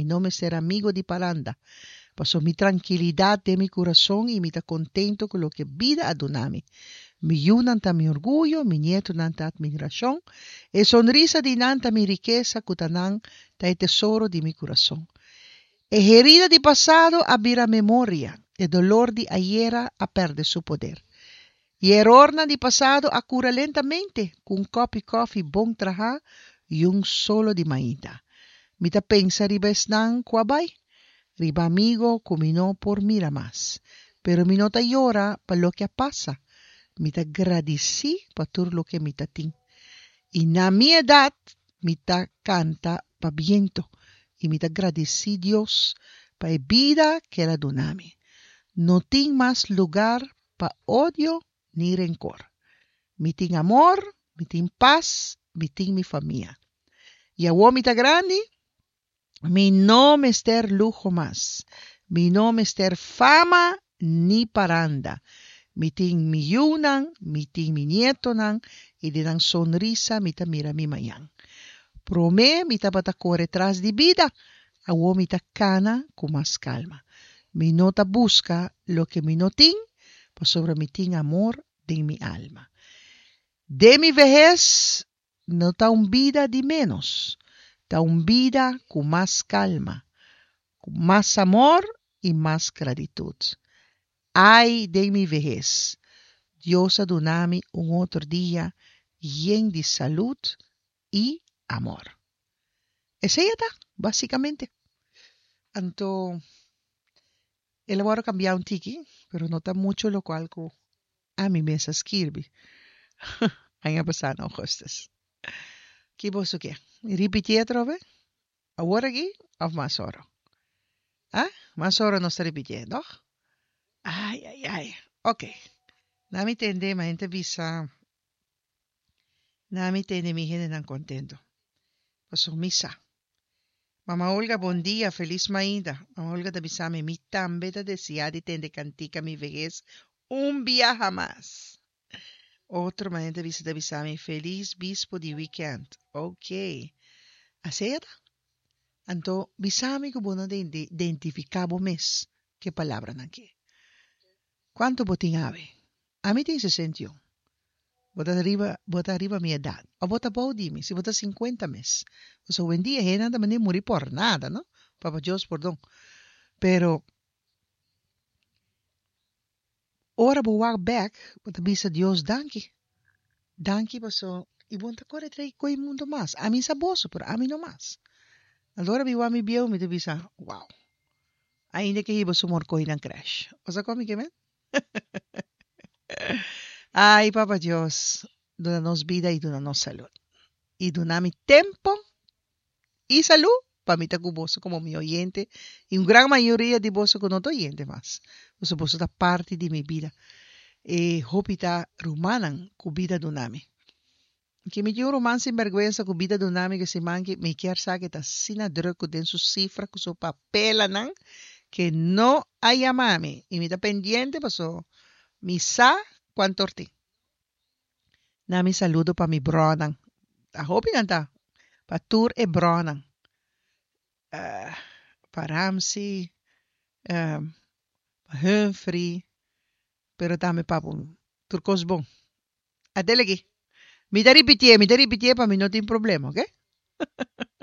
Mi no mester amigo di paranda. Paso mi trankilidat den mi kurason i mi ta kontentu ku loke bida a duna mi. Mi yunan ta mi orguyo, mi nietonan ta admirashon. E sonrisa di nan ta mi rikesa ku ta nan ta e tesoro di mi kurason. E herida di pasado a bira memoria, e dolor di ayera a perde su poder. I e erornan di pasado a kura lentamente ku un kòpi kòfi bon trahá i un solo di mainta. Mi ta pensa riba esnan ku a bai, riba amigo ku mi no por mira mas. Pero mi no ta yora pa loke a pasa, mi ta gradisí pa tur loke mi ta tin. I na mi edat mi ta kanta pa bientu i mi ta gradisí Dios pa e bida ku el a duna mi. No tin mas lugar pa odio ni renkor. Mi tin amor, mi tin pas, mi tin mi famia. I awor mi ta grandi, mi no mester luho mas, mi no mester fama ni paranda. Mi tin mi yunan, mi tin mi nietonan i den nan sonrisa mi ta mira mi mañan. Promé mi tabata kore tras di bida, awor mi ta kana ku mas kalma. Mi no ta buska loke mi no tin, pasobra mi tin amor den mi alma. Den mi vehes no ta un bida di ménos, ta un bida ku mas kalma, ku mas amor i mas gratitut. Ai den mi vehes, Dios a duna mi un otro dia yen di salud i amor. Esei a ta, básikamente. Anto, el a wòrdu kambiá un tiki, pero no ta muchu lokual ku ami mes a skirbi aña pasá na ougùstus. Ki boso ke? Ripitié atrobe? Awor aki òf mas oro? Ah, mas oro nos ta ripitié, tòg? Ai, ai, ai. Oké. Na mi tende, ma hende bisa, na mi tende mi hendenan kontentu. Pasobra mi sa. Mama Olga, bon dia, felis mainta. Mama Olga ta bisa mi, mi tambe ta deseá di tende kantika mi vehes un biaha mas. Otro ma hende bisa ta bisa mi, felis bispo di weekend. Ok. Asei a ta. Anto bisa mi ku bo no ta identifiká bo mes ku e palabranan akí. Kuantu bo tin awe? Ami tin 61. Bo ta riba, bo ta riba mi edat. Of bo ta bou di mi, si bo ta 50 mes. Pasobra owendia hendenan ta manda muri por nada, no? Papa Dios pordon. Pero ora bo wak bek, bo ta bisa Dios danki. Danki paso i bo no ta kore trei koe mundu mas. Ami sa boso, pero ami no mas. Anto ora mi wak mi bieu mi ta bisa, wow. Ainda ke hiba su morkoi nan crash. Bo sa kon mi ke men? Ay, Papa Dios, duna nos bida i duna nos salud. I duna mi tempo i salud pa mi ta ku boso komo mi oyente i un gran mayoria di boso ku no ta oyente mas. Pasobra boso ta parti di mi bida. E hopi ta rumannan ku bida duna mi. Ki mi tin un ruman sinbergwensa ku bida duna mi ku siman ki mi kier sa ke ta asina druk ku den su sifra ku su papelanan ke no a yama mi i mi ta pendiente paso mi sa kuantor tin. Na mi saludo pa mi bronan. Ta hopi nan ta pa tur e bronan. Pa Ramsey, pa Humphrey, pero tambe pa bo tur kos bon. Adele aki. Mi ta ripitié, mi ta ripitié pa mi no tin problema, oke?